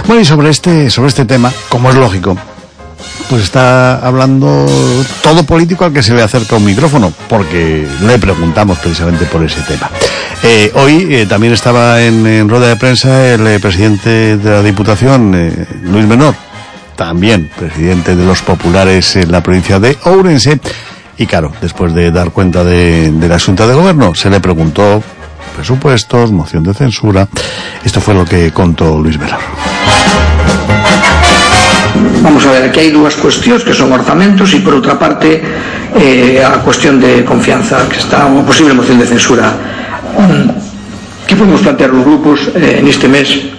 Bueno, y sobre este tema, como es lógico, pues está hablando todo político al que se le acerca un micrófono, porque le preguntamos precisamente por ese tema. Hoy también estaba en rueda de prensa el presidente de la Diputación, Luis Menor, también presidente de los populares en la provincia de Ourense, y claro, después de dar cuenta de la Xunta de Gobierno, se le preguntó presupuestos, moción de censura. Esto fue lo que contó Luis Menor. Vamos a ver, aquí hai dúas cuestións que son orzamentos e por outra parte a cuestión de confianza, que está unha posible moción de censura. Que podemos plantear os grupos neste mes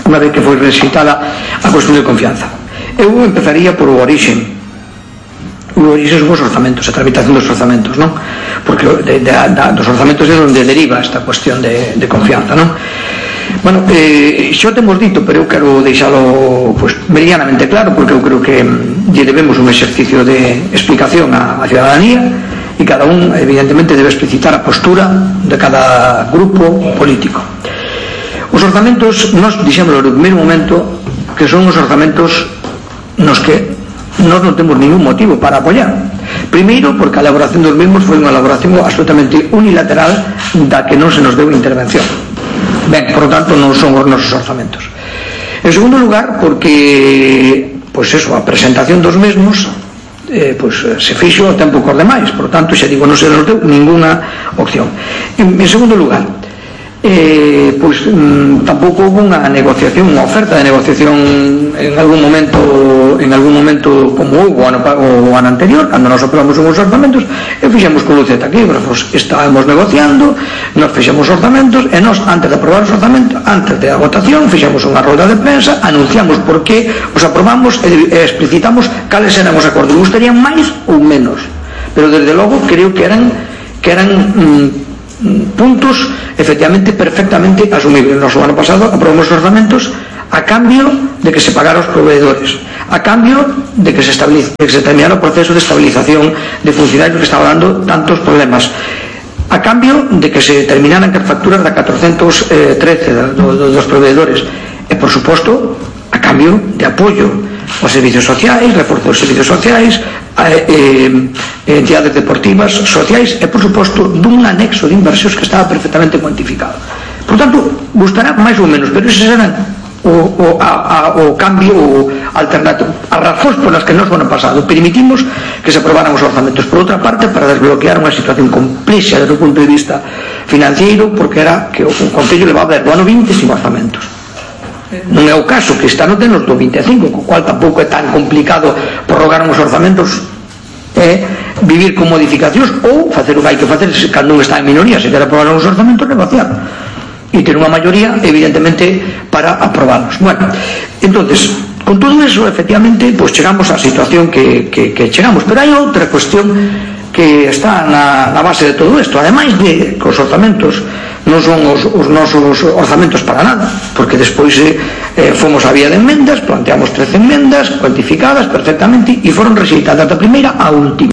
unha vez que foi recitada a cuestión de confianza? Eu empezaría por o orixe. O orixe son os orzamentos, a tramitación dos orzamentos, non? Porque dos orzamentos é onde deriva esta cuestión de confianza, non? Bueno, xo temos dito, pero eu quero deixalo meridianamente claro, porque eu creo que lle debemos un exercicio de explicación á ciudadanía, e cada un evidentemente debe explicitar a postura de cada grupo político. Os orzamentos, nós dixémoslo no primeiro momento, que son os orzamentos nos que nós non temos ningún motivo para apoiar. Primeiro, porque a elaboración dos mesmos foi unha elaboración absolutamente unilateral da que non se nos deu intervención. Ben, por lo tanto, non son os nosos orzamentos. En segundo lugar, porque a presentación dos mesmos se fixo o tempo cor demais, por lo tanto, xa digo, non se nos deu ninguna opción. En segundo lugar, tampouco houve unha negociación, unha oferta de negociación en algún momento como houve o ano anterior, cando nos aprobamos uns orzamentos e fixemos con luz e taquígrafos, estábamos negociando, nos fixemos orzamentos e nos, antes de aprobar os orzamentos, antes da votación, fixemos unha roda de prensa, anunciamos por que os aprobamos e explicitamos cales eran os acordos. Gustarían máis ou menos, pero desde logo creo que eran puntos efectivamente perfectamente asumibles. Nos o ano pasado aprobamos os orzamentos a cambio de que se pagara os proveedores, a cambio de que se terminara o proceso de estabilización de funcionarios que estaba dando tantos problemas, a cambio de que se terminaran as facturas da 413 dos proveedores e, por suposto, a cambio de apoio aos servicios sociais, reforzo dos servicios sociais, entidades deportivas, sociais e, por suposto, dun anexo de inversións que estaba perfectamente cuantificado. Por tanto, gustará máis ou menos, pero eses eran o cambio alternativo, as razóns polas que nos ano pasado permitimos que se aprobaran os orzamentos. Por outra parte, para desbloquear unha situación complexa desde o punto de vista financiero, porque era que o Concello levaba do ano 20 sin orzamentos. Non é o caso que este ano tenos do 25, co cual tampouco é tan complicado prorrogar uns orzamentos e vivir con modificacións ou facer o que hai que facer cando un está en minoría, se quer aprobar uns orzamentos, negociar e ter unha maioría evidentemente para aprobalos. Bueno, entonces, con todo eso efectivamente chegamos á situación que chegamos, pero hai outra cuestión que está na base de todo isto, ademais de que os orzamentos non son os nosos orzamentos para nada, porque despois fomos a vía de enmendas, planteamos 13 enmendas cuantificadas perfectamente e foron rexeitadas da primeira á última.